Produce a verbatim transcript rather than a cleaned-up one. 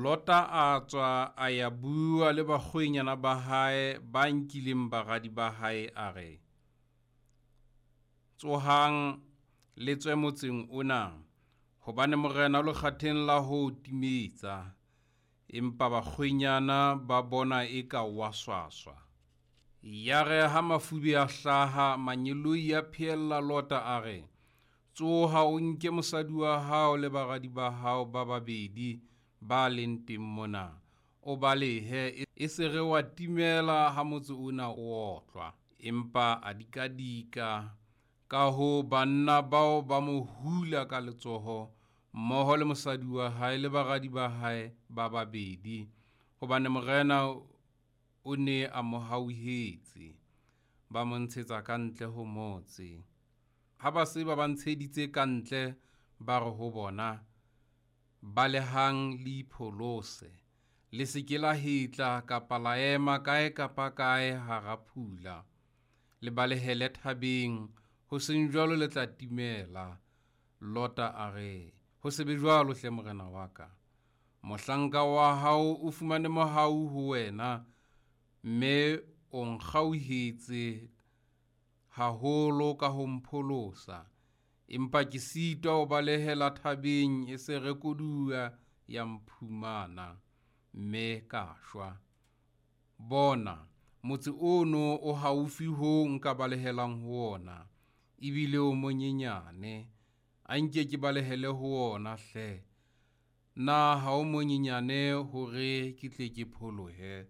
Lota a tswa a ya bua le bakgwenyana ba hae ba nkileng baradi ba hae, a re, Tsohang, le tswe motseng ona, hobane Morena o lekgatheng la ho o timetsa. Empa bakgwenyana ba bona eka o a swaswa. Yare ha mafube a hlaha, mangeloi a pheella Lota a re, Tsoha, o nke mosadi wa hao le baradi ba hao ba babedi ba leng teng mona, o balehe, e se re wa timela ha motse ona o otlwa. Empa a dikadika. Ka hoo banna bao ba mo hula ka letsoho mmoho le mosadi wa hae le baradi ba hae ba babedi, hobane Morena o ne a mo hauhetse. Ba mo ntshetsa ka ntle ho motse. Ha ba se ba ba ntsheditse ka ntle, ba re ho bona, Balehang le ipholose, le se ke la hetla kapa la ema kae kapa kae hara phula. Le balehele thabeng, ho seng jwalo le tla timela. Lota a re, Ho se be jwalo hle morena wa ka. Mohlanka wa hao o fumane mohau ho wena, mme o nkgauhetse haholo ka ho mpholosa. Empa ke sitwa ho balehela thabeng, e se re koduwa ya mphumana, mme ka shwa. Bona, motse ono o haufi hoo nka balehelang ho wona, ebile o monyenyane. A nke ke balehele ho wona hle. Na ha o monyenyane hore ke tle ke pholohe?